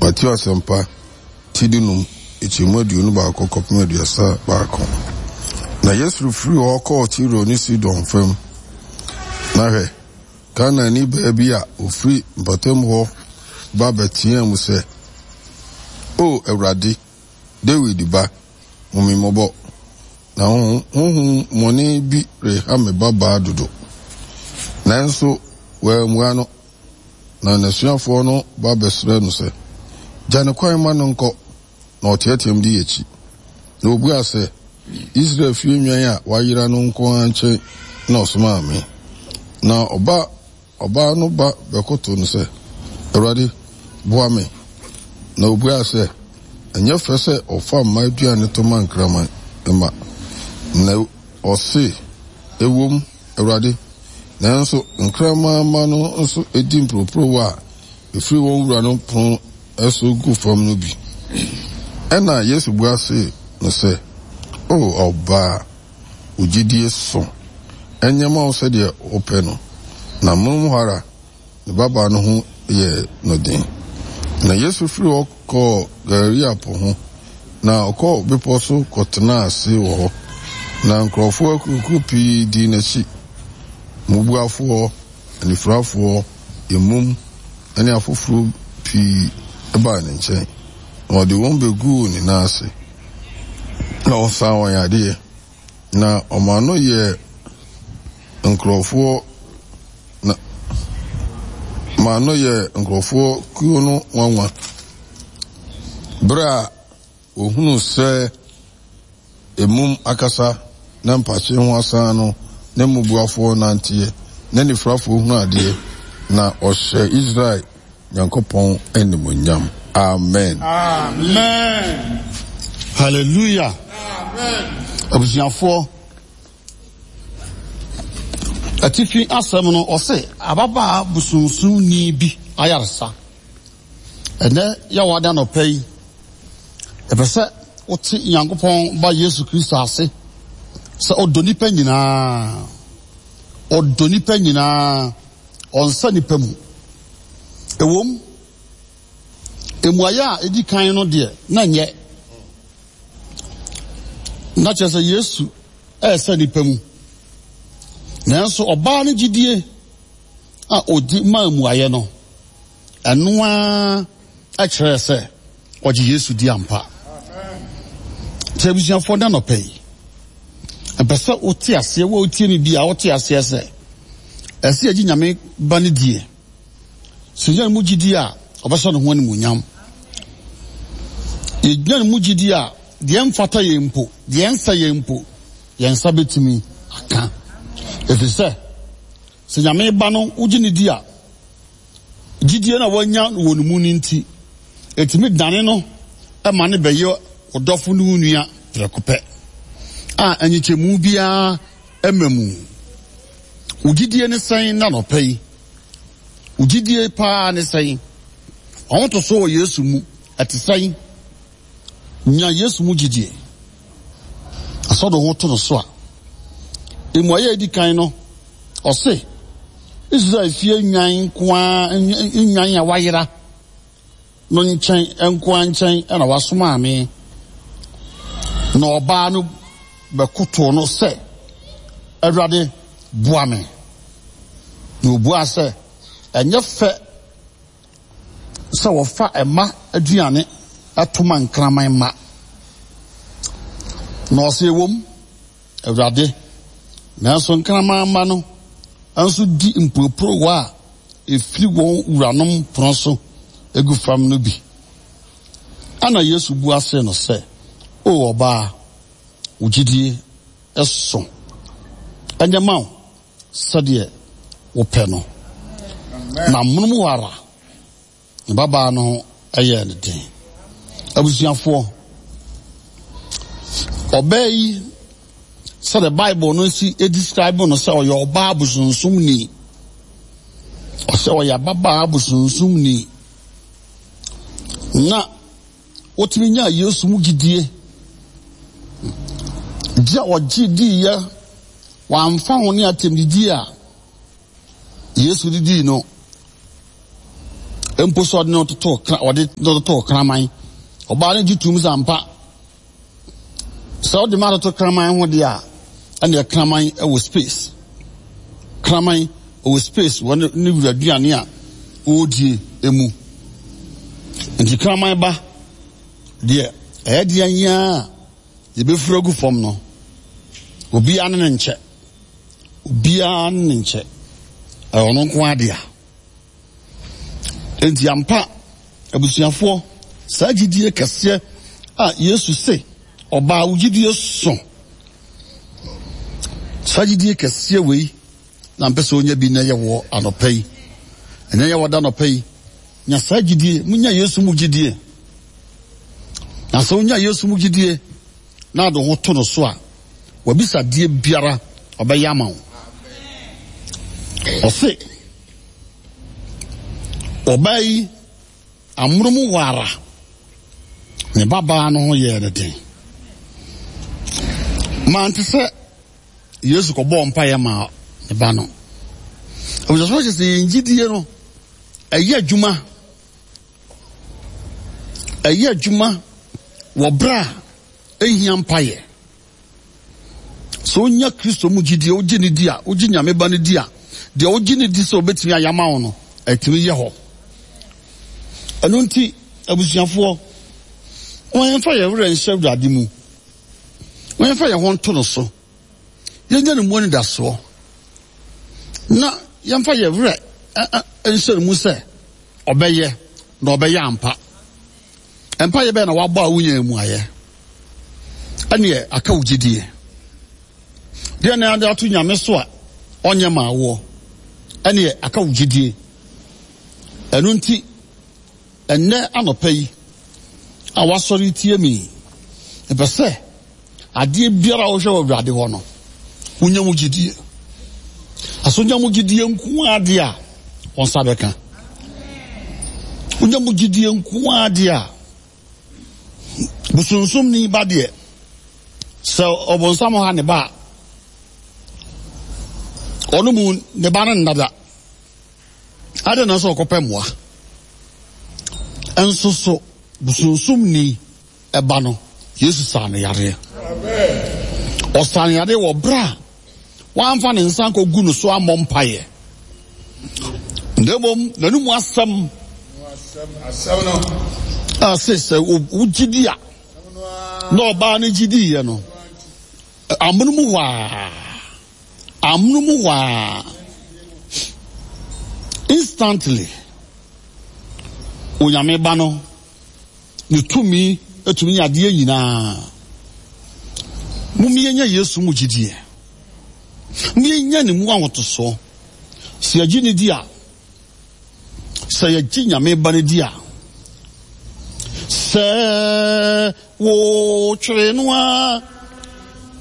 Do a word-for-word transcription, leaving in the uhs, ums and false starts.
Mateo Asɛmpa, ti dunum, nkyɛmu aduonu baako kɔpem aduasa baako. Na Yesu firii hɔ kɔɔ Tiro ne Sidon fam. Na hwɛ, Kanaanni baa bi a ofiri mpɔtam hɔ ba bɛteɛɛ mu sɛ, O Awurade, Dawid ba, hu me mmɔbɔ, na honhommɔne bi reha me babaa dodo. Nanso wammua no. Na n'asuafoɔ no ba bɛsrɛɛ no sɛ, Gya no kwan ma no nkɔ, na ɔteɛteɛm di akyi. Na ɔbuaa sɛ, Israel fie nnwan a wɔayera no nko ara nkyɛn na ɔsomaa me. Na ɔba ɔbaa no ba bɛkoto no sɛ, Awurade, boa me. Na ɔbuaa sɛ, Ɛnyɛ fɛ sɛ ɔfa mma aduane to ma nkraman mma. Na ɔse, Ɛwom, Awurade, nanso nkraman mma no nso di mporoporowa a ɛfiri wɔn wuranom pono so gu fam no bi. Ɛnna Yesu bua see no sɛ, O ɔbaa, wo gyidie so, ɛnyɛ mma wo sɛdeɛ wopɛ no. Na amonom hɔ ara ne babaa no ho yɛɛ no den. Na Yesu firii hɔ kɔɔ Galilea Po ho, na ɔkɔɔ bepɔ so kɔtenaa ase wɔ hɔ. Na nkurɔfoɔ akuakuo pii dii n'akyi, mmubuafoɔ, anifirafoɔ, mmum, ne afoforɔ pii baa ne nkyɛn, na ɔde wɔn bɛguu ne nan ase, na ɔsaa wɔn yadeɛ. Na ɔmaa no yɛɛ nkurɔfoɔ na maa no yɛɛ nkurɔfoɔ kuo no nwanwa, berɛ a wɔhunuu sɛ emum akasa na mpakye ho asan no, ne mmubuafoɔ nanteɛ, ne anifirafoɔ hunu adeɛ, na ɔhyɛ Israel Nyankopɔn animuonyam. Amen. Amen. Hallelujah. Amen. Abusuafoɔ, atifi asɛm no ɔse ababaa bosonsomni bi ayaresa. Ɛnɛ yɛwɔ ada nɔpɛ yi, ɛpɛ sɛ wote Nyankopɔn ba Yesu Kristo ase sɛ ɔdɔ nipa nyinaa. Ɔdɔ nipa nyinaa. Ɔnsa nipa mu. Ɛwom, mmuaeɛ a ɛdi kan no deɛ na nyɛ. Na kyerɛ sɛ Yesu ɛresa nipa mu. Nanso ɔbaa no gyidie a ɔdi maa mmuaeɛ no, ɛno ara kyerɛɛ sɛ ɔgye Yesu di ampa. Nti abusuafoɔ da nɔpɛ yi, mpɛ sɛ wote aseɛ, wo a wotie me bi a wote aseɛ sɛ ɛsɛ yɛgye Nyame ba no die. Sɛ yɛnya ne mu gyidie a, ɔbɛhyɛ ne ho animuonyam. Yɛnya ne mu gyidie a, deɛ mfata yɛn mpo, deɛ nsɛ yɛn mpo, yɛn nsa bɛtumi aka. Ɛfiri sɛ, sɛ Nyame ba no wogye ne di a, gyidie no a wanya wɔ ne mu no nti, ɛtumi dane no ma no bɛyɛ ɔdɔfo ne wo nua prɛko pɛ a nkyekyɛmu biara mma mu. Wo gyidie ne sɛn na nɔpɛ yi? Wo gyidie paa ne sɛn? W'ahotoso wɔ Yesu mu ɛte sɛn? Nya Yesu mu gyidie. Asɔ de ho to no so a. Mmuaeɛ a ɛdi kan no, ɔse, Israel fie nnwan nko ara, nnwan a wayera no nkyɛn nko ara nkyɛn na wasomaa me. Na ɔbaa no bɛkotoo no sɛ, Awurade, boa me. Na obuaa sɛ, Ɛnyɛ fɛ sɛ wɔfa mma aduane to ma nkraman mma. Na ɔse, Ɛwom, Awurade, nanso nkraman mma no nso di mporoporowa a ɛfiri wɔn wuranom pono so gu fam no bi. Ɛnna Yesu bua see no sɛ, O ɔbaa, wo gyidie so. Ɛnyɛ ma wo sɛdeɛ wopɛ no. Na amonom hɔ ara, ne babaa no ho yɛɛ no den. Abusuafoɔ, ɔbaa yi, sɛdeɛ Bible no si describe no sɛ ɔyɛ ɔbaa bosonsomni, ɔsɛ ɔyɛ ababaa bosonsomni, na wotumi nyaa Yesu mu gyidie, gye a ɔgye diiɛ, wamfa ho ne atɛmdidie a Yesu de dii no, Mpo sɛ ɔde no totoo ɔde no totoo kraman. Ɔbaa no gye tum sɛ ampa. Sɛ ɔde ma atoto kraman ho deɛ a, ɛnna kraman wɔ space. Kraman wɔ space wɔ ne ne wura aduane a ɔredie mu. Nti kraman ba deɛ ɛyɛ deɛ nyaa a yɛbɛfiri agu fam no, obiara ne ne nkyɛ. Obiara ne ne nkyɛ. Ɛyɛ ɔno nko ara dea. Enti ampa, abusuafoɔ, saa gyidie kɛseɛ a Yesu se, ɔbaa wo gyidie so. Saa gyidie kɛseɛ wei na mpɛ sɛ onya bi na ɛyɛ wɔ anɔpa yi. Ɛnɛ yɛ wɔda anɔpa yi. Nya saa gyidie, munya Yesu mu gyidie. Na sɛ wonya Yesu mu gyidie na ade ho to no so a, wabisa deɛ biara ɔbɛyɛ ama wo. Ɔse, ɔbaa yi amono mu hɔ ara ne babaa no ho yɛɛ no den. Mante sɛ Yesu kɔbɔɔ mpaeɛ maa ne ba no. Abusuafoɔ kyerɛ sɛ yɛn gyidie no ɛyɛ adwuma ɛyɛ adwuma wɔ berɛ a ɛhia mpaeɛ. Sɛ wonya Kristo mu gyidie, wogye ne di a, wogye Nyame ba no di a, deɛ wogye ne di sɛ wobɛtumi ayɛ ama wo no, ɛtumi yɛ hɔ. Ɛno nti, abusuafoɔ, wɔn yɛmfa yɛn werɛ nhyɛ Awurade mu. Wɔn yɛmfa yɛn ho nto no so. Yɛnya ne mu anidasoɔ. Na yɛmfa yɛn werɛ nhyɛ ne mu sɛ ɔbɛyɛ na ɔbɛyɛ ampa. Mpaeɛ bɛyɛ na wabɔ a wonya mu ayɛ. Ɛneɛ aka wo gyidie. Deɛ na ade ato Nyame so a ɔnyɛ ma awoɔ. Ɛneɛ aka wo gyidie. Ɛno nti, ɛnnɛ anɔpa yi a wasɔre tie mi, mepɛ sɛ adeɛ biara a wohwɛ wɔ Awurade hɔ no, wonya mu gyidie. Aso nya mu gyidie nko adeɛ a, wɔn nsa bɛka. Wonya mu gyidie nko adeɛ a, bosonsomni ba deɛ, sɛ ɔbonsam ha ne ba a, ɔno mu ne ba no nnada. Ade na sɛ ɔkɔpɛ mmoa. Nso so bosonsomni ɛba no, Yesu saa no yareɛ. Ɔsaa no yareɛ wɔ berɛ a wamfa ne nsa nkɔgu no so ammɔ mpaeɛ. Na mmom n'anom asɛm a se sɛ wogye di a, na ɔbaa no gye diiɛ no, amono mu hɔ a, amono mu hɔ a, instantly, Onyame ba no, ne tumi atumi yɛ adeɛ nyinaa. Mommyɛnya Yesu mu gyidie. Mommyɛnya ne mu ahotosoɔ. Sɛ yɛgye ne di a, sɛ yɛgye Nyame ba no di a, sɛ wotwere no a,